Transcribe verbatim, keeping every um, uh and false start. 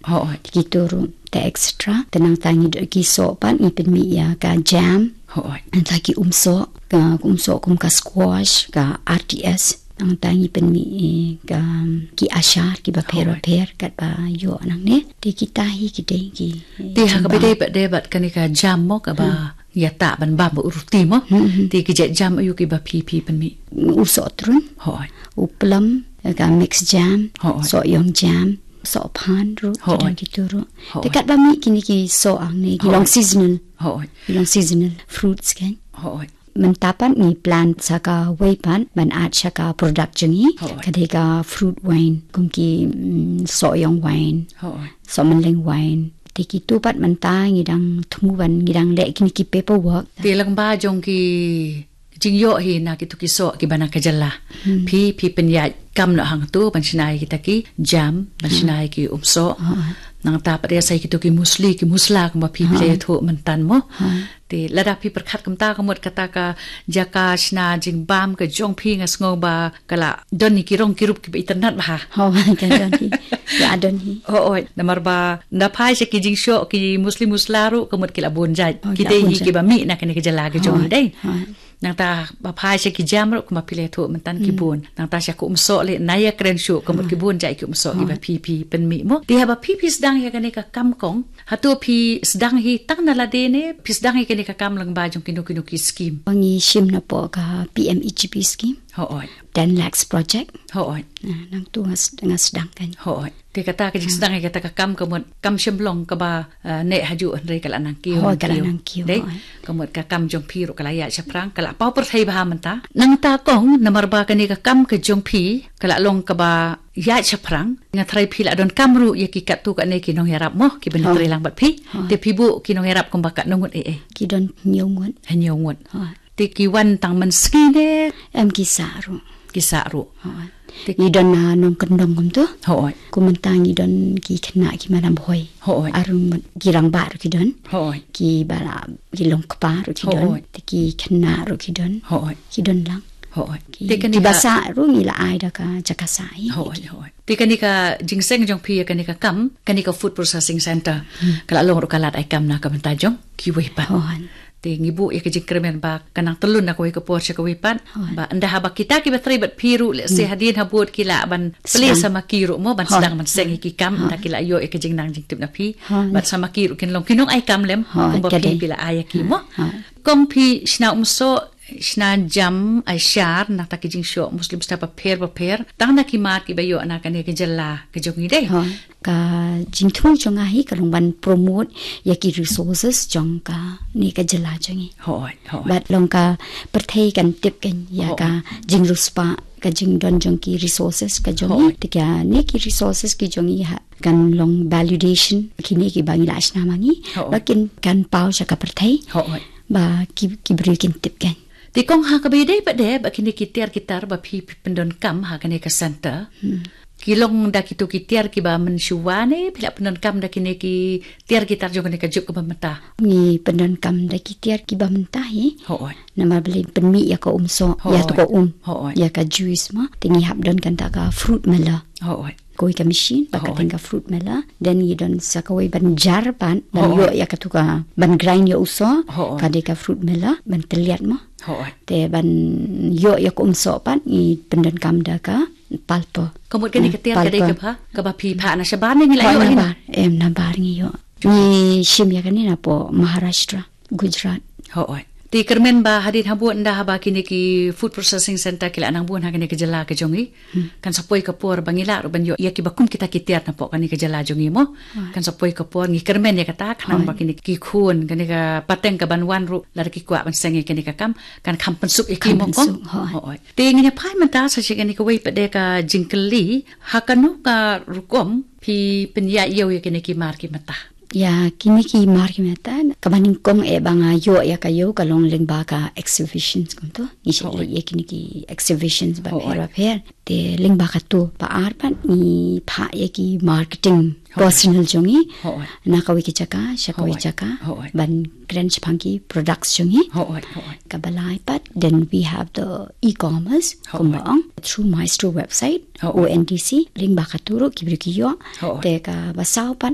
Hooid. Te kito ruh te extra. Te nangta ngi don ki soh pat ngi pynmih ïa ka jam. Hooid. Nangta ki umsoh, ka umsoh kum ka squash, ka R T S. Nangta ngi pynmih, eh, ka, ki ashar kiba pher, hooid, bapher katba ïoh nangne. Te kita hi ki dei ki, eh, te ha kaba jingbam dei pat dei bad kane ka jam mo kaba, hmm, ïa ta ban bam ba u ruti mo. Hmm, hmm. Te ki jait jam aïu kiba phi phi pynmih? U soh trun. Hooid. U plum, ka mix jam, hooid, soh ïong jam, soh phan ruh, hooid, ki don kito ruh. Hooid. Te katba mih kine ki soh hangne ki, hooid, long seasonal. Hooid. Ki long seasonal fruits kan. Hooid. Mynta pat ngi plan sa kawei pat ban add sha ka product jong ngi. Hooid. Ka dei ka fruit wine, kum ki, mm, soh ïong wine. Hooid. Soh mynleng wine. Te kito pat mynta ngi dang thmu ban ngi dang leh kine ki paperwork. Te lyngba jong ki jingïoh hi na kito ki soh kiba na ka jylla. Hmm. Phi, phi pynïaid kam noh hangto ban shna ïa kita ki jam, ban, hmm, shna ïa ki umsoh. Hooid. Nangta pat ïa sa ïa kito ki musli, ki musla kumba phi, hooid, phi la ïathuh mynta mo. Hooid. Te lada phi pyrkhat kumta ka mut kata ka jaka shna jingbam ka jong phi nga sngew ba ka la don ïa ki rong ki rup kiba itynnad bha. Hooid, ka don hi. Ka don hi. Hooid, namar ba nda phai sha ki jingshoh ki musli musla ruh ka mut ki la bun jait. Oh, ki la dei bun hi jait kiba mih na kane ka jylla ka jong ngi, hooid, dei. Hooid. Nangta ba phai sha ki jam ruh kumba phi la ïathuh mynta ki, hmm, bun. Nangta sha ka umsoh leh na ïakren shuh ka mut, hooid, ki bun jait ki umsoh kiba, hooid, phi phi pynmih mo. Te haba phi phi sdang ïa kane ka kam kong, hato phi sdang hi tang na lade ne phi sdang ïa kane ka kam lyngba jong kino kino ki scheme? Ba ngi shim napoh ka P M E G P scheme. Hooid. Ten lakhs project. Hooid. Ah, nangto nga s-, nga sdang kan. Hooid. Te kata ka jingsdang, hmm, ïa kata ka kam ka mut kam shym long kaba, ah, neh hajuh hynrei ka la nang kiew, hooid, nang kiew. Ka la nang kiew, dei? Hooid. Ka mut ka kam jong phi ruh ka la ïaid shaphrang, ka la paw pyrthei bha mynta. Nangta kong namar ba kane ka kam ka jong phi ka la long kaba ïaid shaphrang, nga tharai phi la donkam ruh ïa ki katto katne ki nongïarap mo, kiba, hooid, trei lang bad phi. Hooid. Te phi buh ki nongïarap kumba katno ngut, eh, eh? Ki don hynñiew ngut. Hynñiew ngut. Hooid. Te ki wan tang mynsngi ne? Em, ki sah ruh. Ki sah ruh. Hooid. Te ngi don, ah, nongkyndong kumto. Hooid. Kumta ngi don ki khynnah ki Madam Bhoi. Hooid. Ar ngut, ki rangbah ruh ki don. Hooid. Kiba la, ki long kpa ruh ki don. Hooid. Te ki khynnah ruh ki don. Hooid. Ki don lang. Hooid. Ki, te kane kiba ka sah ruh ngi la ai da ka jaka sah hi. Hooid, hooid. Te kane ka jingseng jong phi ïa kane ka kam, kane ka food processing center. Hmm. Ka la long ruh ka lad ai kam na ka bynta jong kiwei pat. Hooid. Te ngi buh ïa ka jingkyrmen ba kan nang tyllun na kawei ka por sha kawei pat. Hooid. Ba ynda haba kita kiba trei bad phi ruh lehse, hmm, hadien habud ki lah ban plie, sdang, sa ma ki ruh mo ban, hooid, sdang ban seng ïa ki kam, hooid, ynda ki la ïoh ïa ka jingnang jingtip na phi. Hooid. Bad sa ma ki ruh kin long ki nong ai kam lem, hooid, kumba, ka dei, phi phi la ai ïa ki mo. Hooid. Kong phi shna umsoh, shna jam, ai shar, nangta ki jingshoh musli musla bapher bapher, tang na ki mar kiba ïoh na kane ka jylla ka jong ngi, dei? Hooid. Ka jingthmu jong nga hi ka long ban promote ïa ki resources jong kane ka jylla jong ngi. Hooid, hooid. Bad long ka pyrthei kan tip kan ïa, hooid, ka jingriewspah, ka jingdon jong ki resources ka jong ngi. Hooid. Te kane ki resources ki jong ngi ha kan long validation kine kiba ngi la shna ma ngi. Hooid. Ba kin, kan paw sha ka pyrthei. Hooid. Ba ki, ki briew kin tip kan. Te kong ha kaba ïadei pat de ba kine ki tiar ki tar ba phi, phi pyndonkam ha kane ka center. Hmm. Ki long da kito ki tiar kiba mynshuwa ne phi la pyndonkam da kine ki tiar ki tar jong kane ka juk kaba mynta? Ngi pyndonkam da ki tiar kiba mynta hi. Hooid. Namar balei, pynmih ïa ka umsoh, ïa, hooid, to ka um. Hooid. Ïa ka juice mo. Te ngi hap don kata ka fruit miller. Hooid. Kawei ka machine, ba, hooid, kata ka fruit miller. Then ngi don sa kawei ban jar pat, ban, hooid, ïoh ïa kato ka, ban grind ïa u soh, hooid, ka dei ka fruit miller, ban tylliat mo. Hooid. Te ban ïoh ïa ka umsoh pat, ngi pyndonkam da ka pulper. Ka mut kane, hmm, ka tiar ka dei, pulper, kaba, kaba phi phah na shabar ne ngi la, hooid, ïoh hi na bar? Em, na bar ngi ïoh. Ngi shim ïa kane napoh Maharashtra, Gujarat. Hooid. Te kyrmen ba hadien habud ynda haba kine ki food processing center ki la nang bun ha kane ka jylla ka jong ngi. Hmm. Kan sa poi ka por ba ngi lah ruh ban ïoh ïa kiba kum kita ki tiar napoh kane ka jylla jong ngi mo. Hooid. Kan sa poi ka por, ngi kyrmen ïa kata, khnang, hooid, ba kine ki khun, kane ka pateng kaban wan ruh, lada ki kwah ban seng ïa kane ka kam, kan kham pynsuk ïa ki mo kong. Kham pynsuk, hooid. Hooid. Te ngin ïa phai mynta sa sha kane kawei pat de ka jingkylli, ha kano ka rukom phi pynïaid ïew ïa kine ki mar ki mynta? Ïa kine ki mar ki mynta, kaba nyngkong eh ba nga ïoh ïa ka ïew ka long lyngba ka exhibitions kumto. Ngi shait, hooid, leit ïa kine ki exhibitions, hooid, bapher bapher. Te lyngba kato, ba ar pat ngi phah ïa ki marketing, hooid, personnel jong ngi, hooid, na kawei ka jaka sha kawei, hooid, jaka, hooid, ban kren shaphang ki products jong ngi. Hooid, hooid. Kaba lai pat, then we have the e-commerce, hooid, kumba ong, through Maestro website, hooid, O N D C, lyngba kato ruh ki briew ki ïoh. Hooid. Te kaba saw pat,